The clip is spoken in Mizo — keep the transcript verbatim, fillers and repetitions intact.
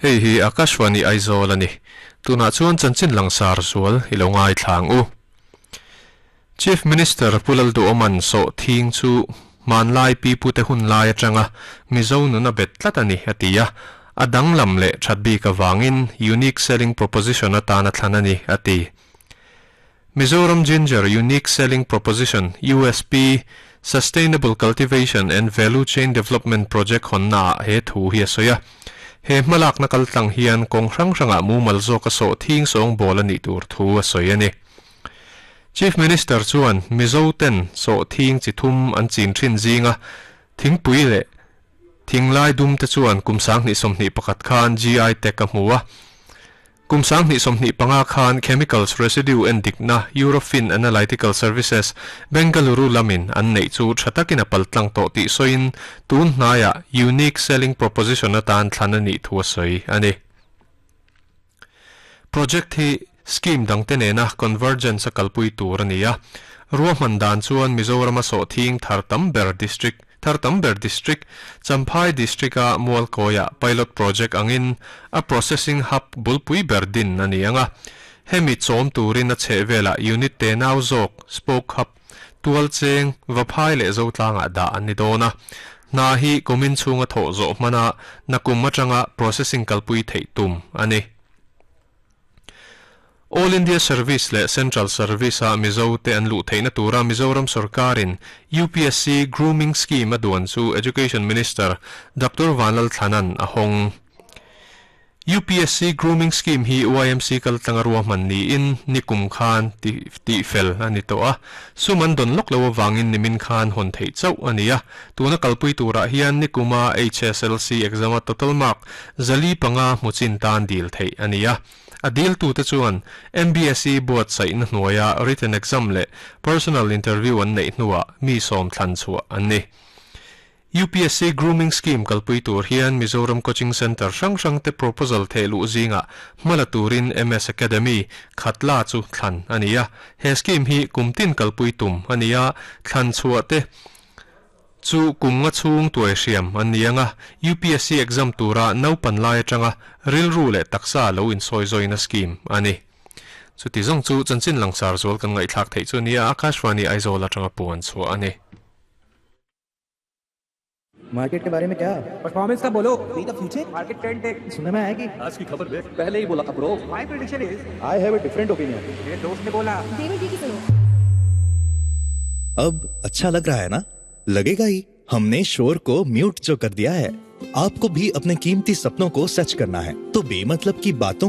Hei hi Akashwani Aizawl ani. Tuna chuan chanchin langsar zual i lo ngai thlang u. Chief Minister Pulal Du Oman so thing chu man lai pi pu te hun lai atanga Mizo nuna bet tlat ani atia adang lam le thatbi ka wangin unique selling proposition atana thlanani ati. Mizoram Ginger Unique Selling Proposition U S P Sustainable Cultivation and Value Chain Development Project honna he thu hi soya he malak na kaltlang hian kong hrang hranga mu malzo ka so thing song bol ani tur thu a soyani. Chief Minister chuan Mizo ten so thing chi thum an chin thin zinga thing pui le thinglai dum te chuan kumsang ni somni pakhat khan G I te ka hmuwa kumsang ni somni panga khan chemicals residue and dikna Eurofin Analytical Services Bengaluru lamin an nei chu thatakin a paltlang to ti soin tun hnaya unique selling proposition atan thlanani thu soi ani. Project hi scheme dangte nena convergence a kalpui tur ania. Ruahman dan chuan Mizoram a so thing thar tam ber district thar tam ber district Champhai district a Mualkoya pilot project angin a processing hub bulpui ber din ani anga. Hemi chawm turin a chhevela unit te nau zawk spoke hub tual cheng vaphai le zo tlanga da ani dona na hi kumin chunga tho zo mana nakum atanga processing kalpui thei tum ani. All India Service le Central Service a Mizo te an lu theina tura Mizoram Sarkarin U P S C Grooming Scheme aduan chu Education Minister Doctor Vanlal Thanan a hong. U P S C Grooming Scheme hi Y M C kal tlangarwa man ni in nikum khan ti ti fel ani to a suman don lok lo wangin nimin khan hon thei chau ania. Tuna kalpui tura hian nikuma H S L C exam a total mark zali panga muchin tan dil thei ania. A dil tu te chuan M B S E buat sai na hnuaia written exam le personal interview an nei hnuwa mi som thlan chua an ni. U P S C Grooming Scheme kalpui tur hian Mizoram Coaching Center hrang hrang te proposal thelu zinga hmala turin M S Academy Khatla chu thlan ania. He scheme hi kumtin kalpui tum ania. Thlan chua te chu kumnga chung tuai hriam an nianga U P S C exam tura naupan lai atanga rilru le taksa lo in soi zoina scheme ani. Chu ti zong chu chanchin langsar zol kan ngai thlak thei chu nia. Akashvani Aizawl atanga puan chu ani. Market के बारे में क्या? परफॉर्मेंस का बोलो। The future. Market trend देख। सुनने में आया कि आज की खबर देख। पहले ही बोला था bro. My prediction is I have a different opinion. मेरे दोस्त ने बोला। डेविड जी की सुनो। अब अच्छा लग रहा है ना? लगेगा ही, हमने शोर को म्यूट जो कर दिया है। आपको भी अपने कीमती सपनों को सच करना है तो बेमतलब की बातों